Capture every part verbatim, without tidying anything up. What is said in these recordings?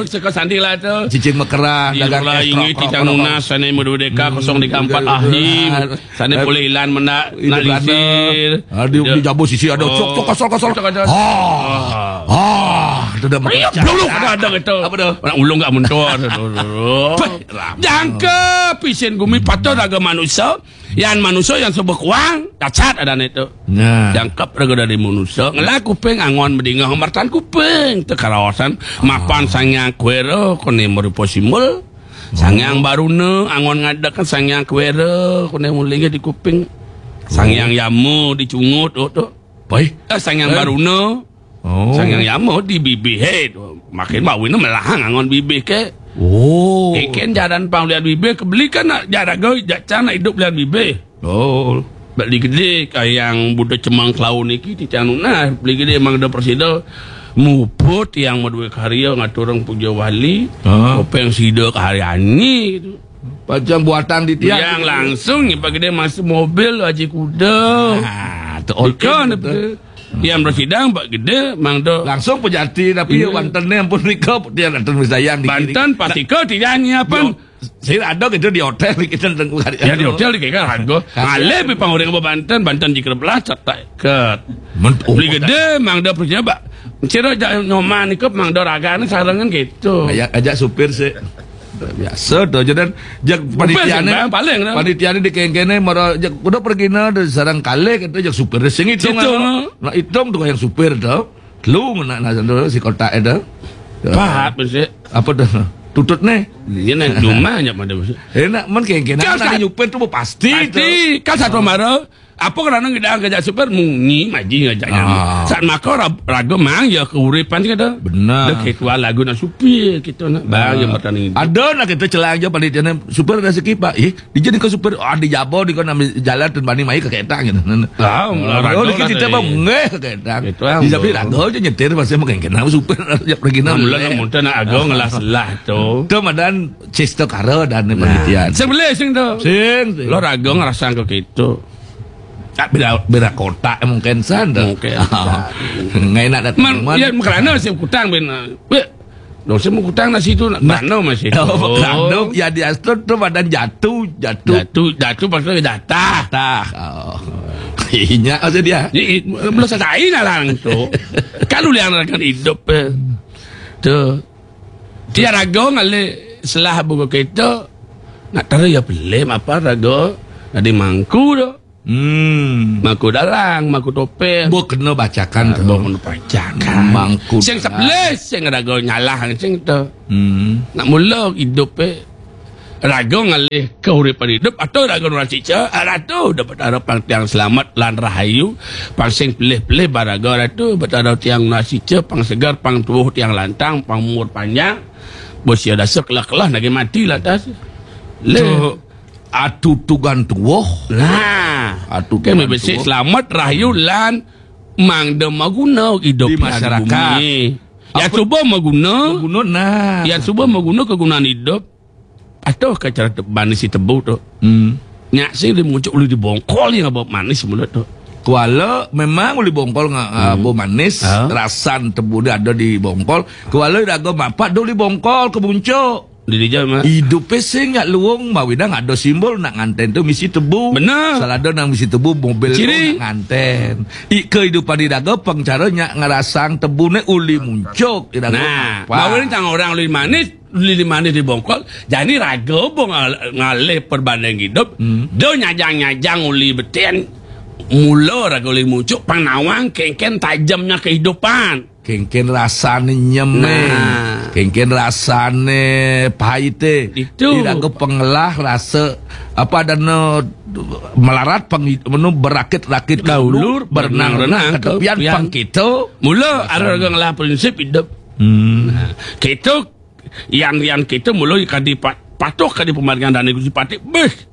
Seka sandi lah tu. Cicing mekeran, dagang es, ingui krok, krok, titang krok, nunas, sana merdeka, kosong tiga empat, Ahim. Sana boleh ilan menda, nak lisir. Ada di Jabo sisi ada. Cok, cok, kosong, kosong. Cok, cok. Ah. Ah, tu dah. Ayo, belum ada, ada gitu. Apa tu? Nak ulung kat mentor. Jangka pisin gumi patut raga manusia. Yan manusia yang sebut kuang, dacat ada ni tu. Nah. Jangkep raga dari manusia. Ngelah kuping angon bedingah mertan kuping. Tekarawasan. Mapan sangyang kuera, kone merupa simbol. Sangyang Baruna, angon ngadakan sangyang kuera, kone mulinga di kuping. Sangyang Yama di cungut tu, tu. Baik. Eh, sangyang Baruna. Oh. Sangyang Yama di bibih. Hei, makin bawina melahang angon bibih ke. Oh. Iken jaran pang liat bibih, kebeli kan nak jaraga, jacan nak hidup liat bibih. Oh. Beli gede, kayang Buddha Cemang Kelaun niki, titiang nunas, beli gede emang ada presida. Muput yang madua karya ngatur orang puja wali. Ha. Kopeng sida karyani gitu. Pacang buatan di tiang. Yang gitu. Langsung ni Pak Gede masuk mobil Haji Kuda. Ah, tu okey. Ikan tu. Betul. Yang bersidang Pak Gede, Mang Do. Langsung pejati, tapi ya, Banten ni ampun, mereka dia datang bersayang di kiri. Banten pasti ke tidak nyiapan. Saya ada gitu di hotel, kita tengok hari. Ya, di hotel di kira harga. Ngalih pi pang orang ke Banten, Banten jika belah, cetak ke. Beli gede, Mang Do percaya, Pak. Ciro jak nyoman ikut Mang Do raga ni sarangan gitu. Ajak, ajak supir sih. Biasa tu je dan jak panitia ni. Paling dah. Panitia ni dikengkene mara jak kuda pergi na de sarang kali kata jak supir sing hitung. Nak hitung tu yang supir tu. Lu nak nak tu si kotak itu. Pahat mesti. Apa tu? Tutut ni. Dia nak cuma je pada mesti. Eh nak men kengkene. Kau nak nyupir tu pasti tu. Pasti. Kau satu mara. Apa kerana ngedang kejak super munyi maji ngejak nyama. Saat maka raga mang ya keuripan kata. Benar. Dek ketua lagu nak supir kita nak bang yang bertanding. Ada nak kita celang je panitia ni super rezeki pak. Eh, dia jadi ke super, ah, di Jabo di kau nak jalan tu bani mai ke kereta gitu. Ah, oh, di kita bang ngeh ke kereta. Di tapi raga je nyetir pasal makan kena super ya pergi nak. Mula nak muntah nak agak ngelah selah tu. Tu madan cista kara dan panitia. Sebelah sing tu. Sing. Lo raga ngerasa ke gitu. Tak beda beda kotak mungkin san tu. Mungkin. Ngai nak datang. Man, ya kerana saya kutang ben. Weh. Dong saya kutang nasi tu nak kerana masih tu. Oh, kerana ya di asal tu badan jatuh, jatuh. Jatuh, jatuh pasal jatah. Tah. Oh. Inya aja dia. Ni belum selesai lah lang tu. Kalau yang akan hidup eh. Tu. Dia raga ngalih selah buku kita. Nak tahu ya pelim apa raga. Ada mangku tu. Hmm. Mangku dalang, mangku topeng. Buat kena bacakan tu. Buat kena bacakan. Mangku sing dalang. Sebelah, sing raga nyalah, sing tu. Hmm. Nak mula hidup eh. Raga ngalih keuripan hidup atau raga nurasi ca, ratu dapat harapan tiang selamat lan rahayu, pang sing pelih-pelih baraga ratu, betara tiang nurasi ca, pang segar, pang tubuh tiang lantang, pang umur panjang, bosia dasa kelah-kelah nagi mati lah tas. Le. Tu. Atu tugan tuwuh. Nah, atu kan tugan besik tuwuh. Selamat rahayu lan mangda maguna hidup di masyarakat. Bumi. Ya apa? Cuba maguna. Maguna nah. Ya cuba maguna kegunaan hidup. Atau ke cara te- manis si tebu tu. Hmm. Nyak sing dia muncul uli di bongkol yang apa manis mulut tu. Kuala memang uli bongkol nga, hmm. Apa manis, ha? Rasan tebu dia ada di bongkol. Kuala daga mapat uli bongkol ke muncul. Di dia mah. Hidup sing nyak luung mawi dah ada simbol nak nganten tu misi tebu. Benar. Salah ada nang misi tebu mobil tu ciri. Nak nganten. I kehidupan di daga pengcara nyak ngerasang tebu ne uli muncuk di daga. Nah, apa? Bawa ni tang orang uli manis, uli manis di bongkol. Jadi raga bo ngal- ngalih perbanding hidup. Hmm. Do nyajang-nyajang uli beten. Mula raga uli muncuk penawang kengken tajamnya kehidupan. Kengken rasane nyeme. Nah. Kengken rasane paite. Itu. Tidak ke pengelah rasa apa dan melarat peng menu berakit-rakit ke dulu, berenang-renang ke tepian pang kita. Mula ada orang ngelah prinsip hidup. Hmm. Nah, kita yang yang kita mula kadi patuh kadi pemaringan dan Gusti Patih. Beh.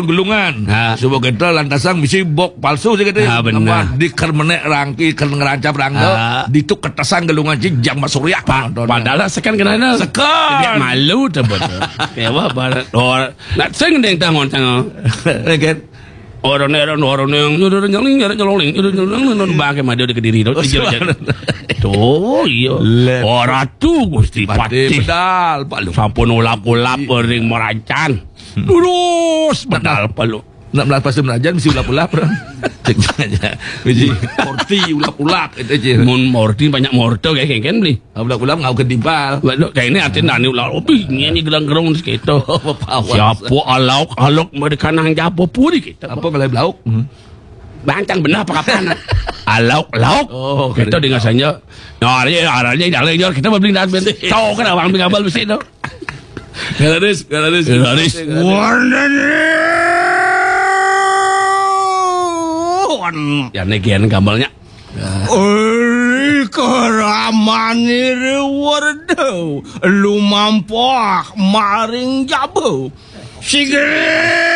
kon gelungan. Ha. Sebab kita lantasang misi bok palsu sih kita. Ha, benar. Nama di kermenek rangki, ker ngerancap rangga, ha, ditu ketasang gelungan ci jam surya. Pa-, padahal sekan kena ada. Sekan. Dia malu tu betul. Ya, wah, barat. Oh, nak sing deng tangon tangon. Kan? Orang orang orang yang orang yang orang yang orang yang orang bangke madu di Kediri tu. Oh, iya. Tuh, iya. Orang tu Gusti Patih. Patih pedal, Pak Lu. Sampun ulap-ulap ring Merancan. Terus pedal, Pak Lu. Nak melas pasti menajan mesti ulap-ulap. Cek aja. Mesti morti ulap-ulap itu aja. Mun morti banyak morto kayak kan beli. Ulap-ulap ngau kedibal. Waduh, kayak ini artinya nani ulap. Opi, ini gelang gerong sekitu. Siapa alauk alauk mereka nang japo puri kita. Apa kalau belauk? Bancang benar apa kapan? Alauk lauk. Oh, kita dengar saja. Nah, arahnya arahnya jalan kita beli dan beli. Tahu kan abang beli kabel besi tu. Galaris, galaris. Galaris. Ya negian gambarnya. Oi, keramani rewardo lumampah maring jabo. Sigere.